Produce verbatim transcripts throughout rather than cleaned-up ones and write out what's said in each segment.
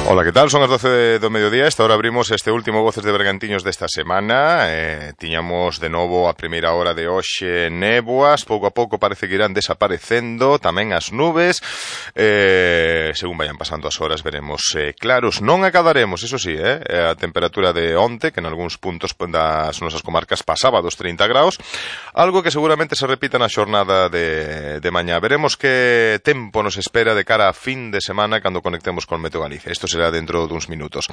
Ola, que tal? Son as doce do mediodía. Esta hora abrimos este último Voces de Bergantiños desta semana. eh, Tiñamos de novo a primeira hora de hoxe néboas. Pouco a pouco parece que irán desaparecendo tamén as nubes. eh, Según vayan pasando as horas veremos eh, claros. Non acadaremos, eso sí, eh, a temperatura de onte, que en algúns puntos das nosas comarcas pasaba dos trinta graus. Algo que seguramente se repita na xornada de, de mañá. Veremos que tempo nos espera de cara a fin de semana cando conectemos con Meteo Galicia. Isto será dentro duns minutos.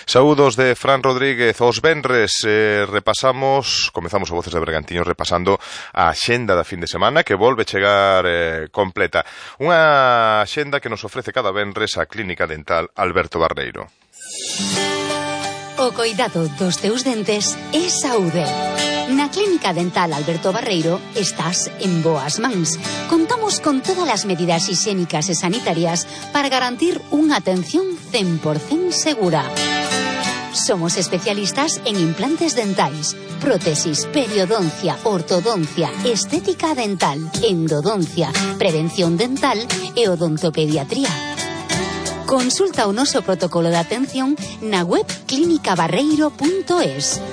Saúdos de Fran Rodríguez. Os venres eh, repasamos, comezamos o Voces de Bergantiños repasando a axenda da fin de semana, que volve chegar eh, completa. Unha axenda que nos ofrece cada venres a Clínica Dental Alberto Barreiro. O coidado dos teus dentes é saúde. Na Clínica Dental Alberto Barreiro estás en boas mans. Contamos con todas as medidas higiénicas e sanitarias para garantir unha atención cen por cento segura. Somos especialistas en implantes dentais, prótesis, periodoncia, ortodoncia, estética dental, endodoncia, prevención dental e odontopediatría. Consulta o noso protocolo de atención na web clínica barreiro punto es.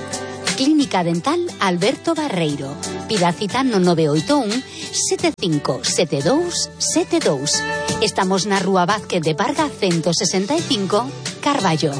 Clínica Dental Alberto Barreiro. Pida cita no nove oito un sete cinco sete dous sete dous. Estamos na Rúa Vázquez de Parga ciento sesenta e cinco, Carballo.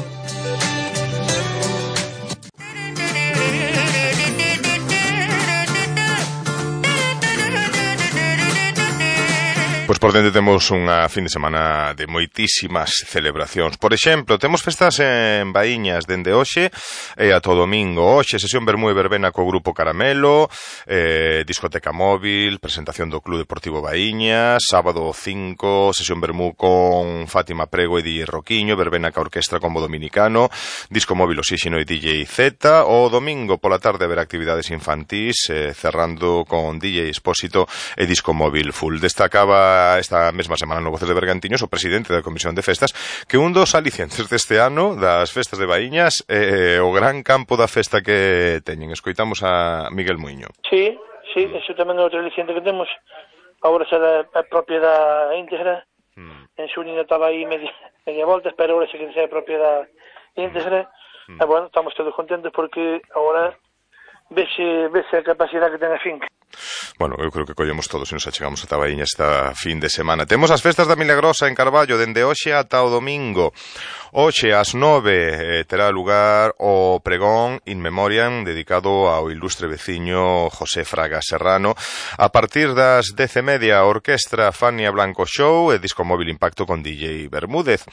Pois por dentro temos unha fin de semana de moitísimas celebracións. Por exemplo, temos festas en Baíñas dende hoxe e ata o domingo. Hoxe, sesión Vermú e Verbena co Grupo Caramelo, eh, discoteca móvil, presentación do Club Deportivo Baíñas. Sábado cinco, sesión Vermú con Fátima Prego e D J Roquiño, Verbena ca Orquestra Combo Dominicano, disco móvil Oxígeno e D J Z. O domingo pola tarde haber actividades infantís, eh, cerrando con D J Expósito e disco móvil full. Destacaba esta mesma semana no Voces de Bergantiños o presidente da Comisión de Festas que un dos alicientes deste ano das festas de Baíñas é eh, o gran campo da festa que teñen. Escoitamos a Miguel Muiño. Sí, sí, eso tamén é outro aliciente que temos. Agora será a propiedade íntegra. Mm. En Xunio estaba aí media, media volta, pero agora sí que sea a propiedade íntegra. Mm. E bueno, estamos todos contentos porque agora vese, vese a capacidade que ten a finca. Bueno, eu creo que collemos todos e nos achegamos a Tabaíña esta fin de semana. Temos as festas da Milagrosa en Carballo dende hoxe ata o domingo. Hoxe ás nove eh, terá lugar o pregón in memoriam dedicado ao ilustre veciño José Fraga Serrano. A partir das dez e media, a orquestra Fania Blanco Show e disco móvil Impacto con D J Bermúdez.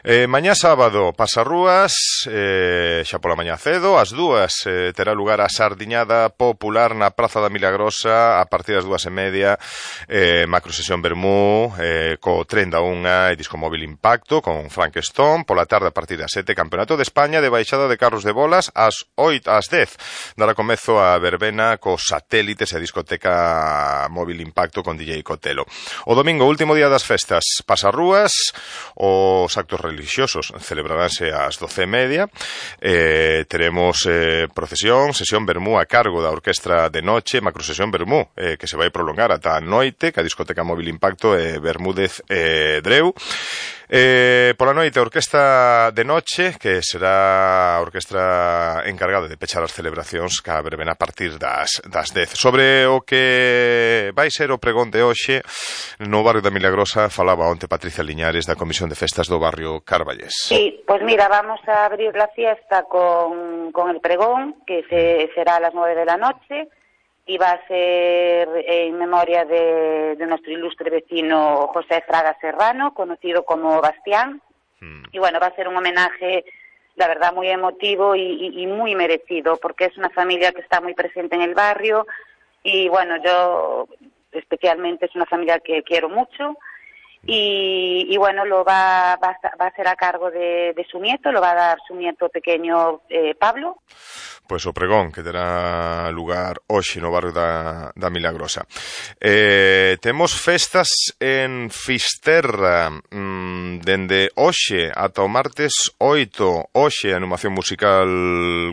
Eh, mañá sábado, Pasarrúas, eh, xa pola mañá cedo, ás dúas eh, terá lugar a sardiñada popular na Praza da Milagrosa a partir das dúas e media, eh, macro sesión Vermú, eh, co tren da unha e disco móvil Impacto con Frank Stone. Pola tarde a partir das sete, Campeonato de España de baixada de carros de bolas. Ás oito, ás dez dará comezo a verbena cos satélites e a discoteca móvil Impacto con D J Cotelo. O domingo, último día das festas, Pasarrúas, os actos religiosos celebraránse ás doce e media. Eh, teremos eh, procesión, sesión Vermú a cargo da Orquestra de Noche, macro sesión Vermú, eh, que se vai prolongar ata a noite, que a discoteca móvil Impacto e eh, Bermúdez e eh, Dreu. Eh, pola noite, a Orquestra de Noche, que será a orquestra encargada de pechar as celebracións ca verbena a partir das, das dez. Sobre o que vai ser o pregón de hoxe no barrio da Milagrosa, falaba onte Patricia Liñares da Comisión de Festas do barrio Carballés. Sí, pues mira, vamos a abrir la fiesta con, con el pregón, que se, será a las nueve de la noche, y va a ser en memoria de, de nuestro ilustre vecino José Fraga Serrano, conocido como Bastián. Mm. Y bueno, va a ser un homenaje, la verdad, muy emotivo y, y, y muy merecido, porque es una familia que está muy presente en el barrio y bueno, yo especialmente es una familia que quiero mucho. Y, y bueno, lo va, va, va a ser a cargo de, de su nieto, lo va a dar su nieto pequeño eh, Pablo. Pois o pregón que terá lugar hoxe no barrio da, da Milagrosa. Eh, temos festas en Fisterra. Mm, dende hoxe ata o martes oito, hoxe animación musical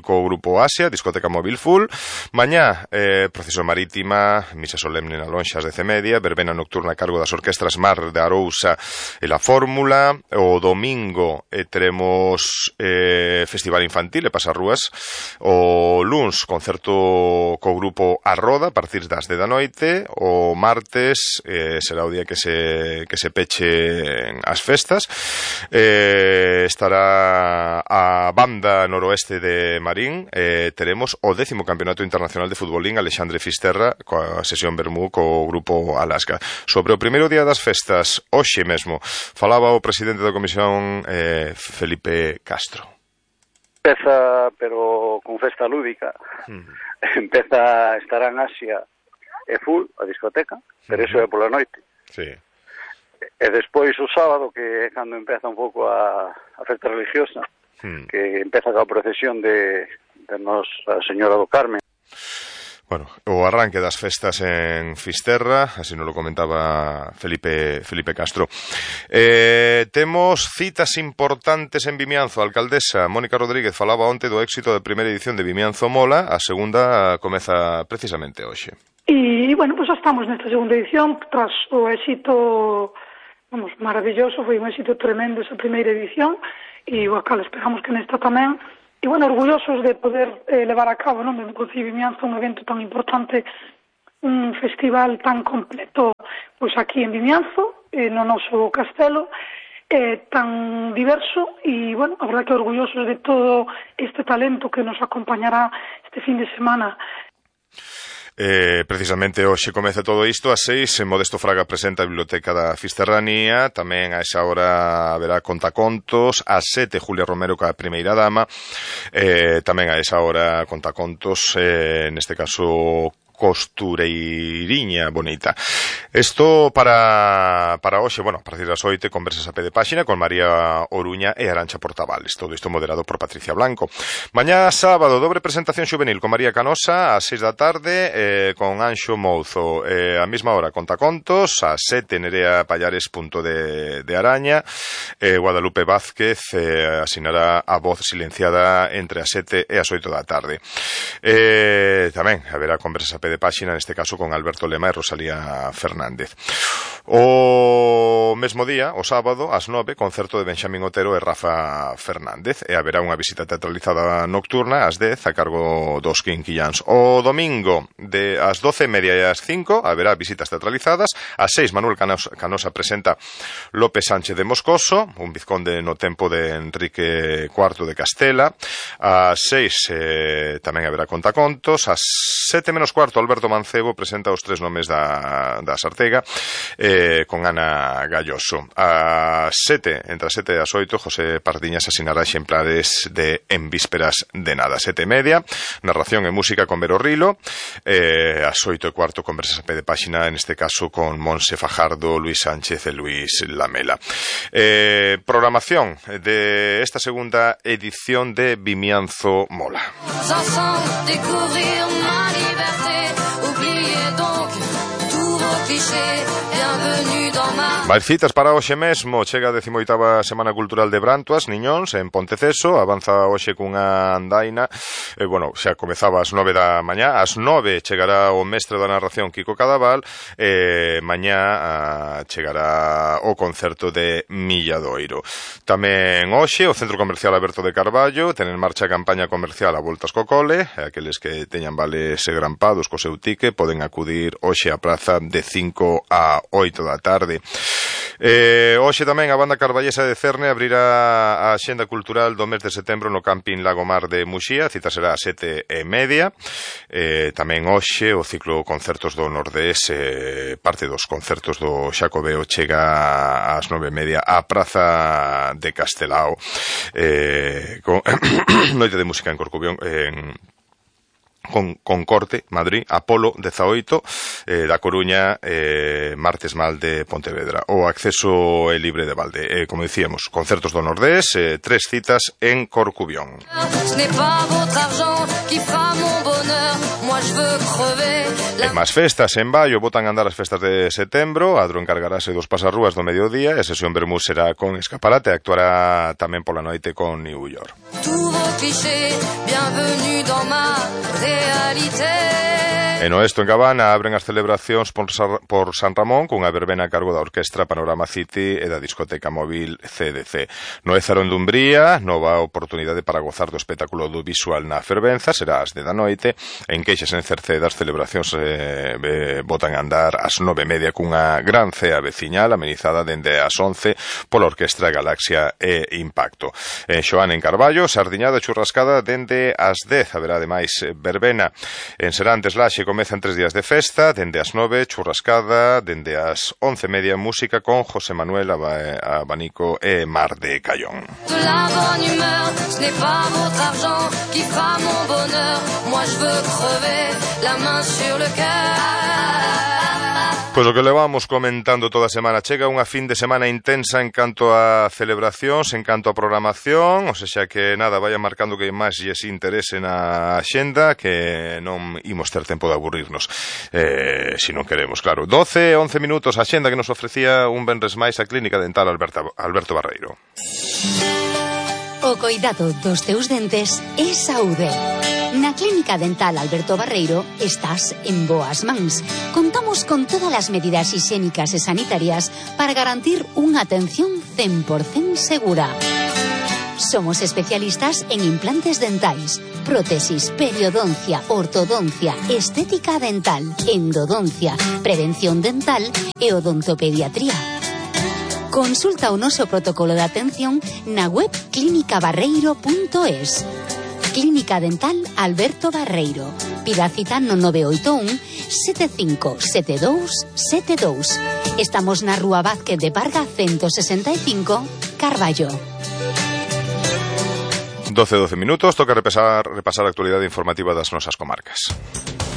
co grupo Asia, discoteca móvil full. Mañá, eh, procesión marítima, misa solemne na lonxas de Cemedia, verbena nocturna a cargo das orquestras Mar de Arousa e La Fórmula. O domingo eh, teremos eh, festival infantil e pasarrúas. O luns, concerto co grupo A Roda a partir das dez da noite. O martes eh, será o día que se, que se peche as festas. Eh, estará a banda noroeste de Marín. Eh, teremos o décimo Campeonato Internacional de Futbolín Alexandre Fisterra coa sesión Bermú co grupo Alaska. Sobre o primeiro día das festas, hoxe mesmo, falaba o presidente da Comisión eh, Felipe Castro. Empeza, pero con festa lúdica, mm. empeza, estará en Asia e full, a discoteca, pero mm-hmm. iso é pola noite. Sí. E despois o sábado, que é cando empeza un pouco a, a festa religiosa, mm. que empeza coa procesión de de Nosa Señora do Carmen. Bueno, o arranque das festas en Fisterra, así nos lo comentaba Felipe Felipe Castro. Eh, temos citas importantes en Vimianzo. A alcaldesa Mónica Rodríguez falaba onte do éxito da primeira edición de Vimianzo Mola, a segunda comeza precisamente hoxe. E, bueno, pues xa estamos nesta segunda edición, tras o éxito, vamos, maravilloso, foi un éxito tremendo esa primeira edición, e o cal esperamos que nesta tamén. E, bueno, orgullosos de poder eh, levar a cabo, non, dentro do Concello de Vimianzo, un evento tan importante, un festival tan completo, pois aquí en Vimianzo, eh, no noso castelo, eh, tan diverso, e, bueno, a verdade que orgullosos de todo este talento que nos acompañará este fin de semana. Eh, precisamente hoxe comeza todo isto ás seis. Modesto Fraga presenta a Biblioteca da Fisterranía. Tamén a esa hora haberá contacontos. Ás sete Julia Romero ca primeira dama. eh, Tamén a esa hora contacontos, eh, neste caso costureiriña bonita. Isto para para hoxe, bueno, a partir das oito, conversas a pé de páxina con María Oruña e Arancha Portavales. Todo isto moderado por Patricia Blanco. Mañá sábado, dobre presentación xuvenil con María Canosa ás seis da tarde, eh, con Anxo Mouzo. Eh, a mesma hora contacontos, ás sete Nerea Pallares, punto de, de Araña. Eh, Guadalupe Vázquez eh, asinará a voz silenciada entre as sete e as oito da tarde. Eh, tamén haberá conversas a pé de páxina, neste caso con Alberto Lema e Rosalía Fernández. O mesmo día, o sábado, ás nove, concerto de Benxamín Otero e Rafa Fernández, e haberá unha visita teatralizada nocturna ás dez a cargo dos Quinquillans. O domingo, de ás doce e media e ás cinco, haberá visitas teatralizadas. Ás seis, Manuel Canosa, Canosa presenta López Sánchez de Moscoso, un vizconde no tempo de Enrique cuarto de Castela. Ás seis eh, tamén haberá contacontos. Ás sete menos cuarto, Alberto Mancebo presenta os tres nomes da, da Sartega, eh, con Ana Galloso. A sete, entre as sete e as oito, José Pardiñas asinará exemplares de En vísperas de nada. Sete e media, narración e música con Vero Rilo. Eh, as oito e cuarto, conversas a pé de páxina, en este caso con Monse Fajardo, Luis Sánchez e Luis Lamela. Eh, programación de esta segunda edición de Vimianzo Mola. Máis citas para hoxe mesmo. Chega a décimo oitava Semana Cultural de Brantoas, Niñóns, en Ponteceso. Avanza hoxe cunha andaina. E, bueno, xa comezaba ás nove da mañá. Ás nove chegará o mestre da narración, Kiko Cadaval. E mañá a, chegará o concerto de Milladoiro. Tamén hoxe o Centro Comercial Alberto de Carballo ten en marcha a campaña comercial a voltas co cole. Aqueles que teñan vales grampados co seu tique poden acudir hoxe á praza de cinco a oito da tarde. Eh, hoxe tamén a banda carballesa de Cerne abrirá a axenda cultural do mes de setembro no Camping Lagomar de Muxía. A cita será a sete e media. Eh, tamén hoxe o ciclo concertos do Nordés, eh, parte dos concertos do Xacobeo, chega ás nove e media á praza de Castelao, eh, con noite de música en Corcubión, en con, con corte, Madrid, Apolo dezaoito, eh, da Coruña, eh, Martes Mal de Pontevedra. O acceso é libre de balde. Eh, como dicíamos, concertos do Nordés, eh, tres citas en Corcubión. E máis festas en Baio, botan a andar as festas de setembro. Adro encargarase dos pasarrúas do mediodía, e sesión Bermús será con escaparate, actuará tamén pola noite con New York. E no Esto en Cabana abren as celebracións por, por San Ramón cunha verbena a cargo da Orquestra Panorama City e da discoteca móvil C D C. No Ézaro en Dumbría, nova oportunidade para gozar do espectáculo do visual na fervenza, será ás de da noite. En Queixas en Cerceda as celebracións eh, eh, botan a andar ás nove e media cunha gran cea veciñal amenizada dende as once pola Orquestra Galaxia e Impacto. En Xoán en Carballo, sardiñada churrascada dende as dez, haberá ademais verbena. En Serantes Laxe comezan tres días de festa, dende as nove, churrascada, dende as once e media, música con José Manuel Abanico e Mar de Cayón. Pois o que levamos comentando toda a semana, chega unha fin de semana intensa en canto a celebracións, en canto a programación, ou seja que nada, vaya marcando que máis lles interese na axenda, que non imos ter tempo de aburrirnos, eh, se non queremos, claro. doce, once minutos a axenda que nos ofrecía un venres máis a Clínica Dental Alberto, Alberto Barreiro. O coidado dos teus dentes é saúde. Na Clínica Dental Alberto Barreiro estás en boas mans. Contamos con todas as medidas higiénicas e sanitarias para garantir unha atención cen por cento segura. Somos especialistas en implantes dentais, prótesis, periodoncia, ortodoncia, estética dental, endodoncia, prevención dental e odontopediatría. Consulta o noso protocolo de atención na web clínica barreiro punto es. Clínica Dental Alberto Barreiro. Pida cita no nove oito un, sete cinco sete dous sete dous. Estamos na Rúa Vázquez de Parga ciento sesenta e cinco, Carballo. doce, doce minutos, toca repasar, repasar a actualidade informativa das nosas comarcas.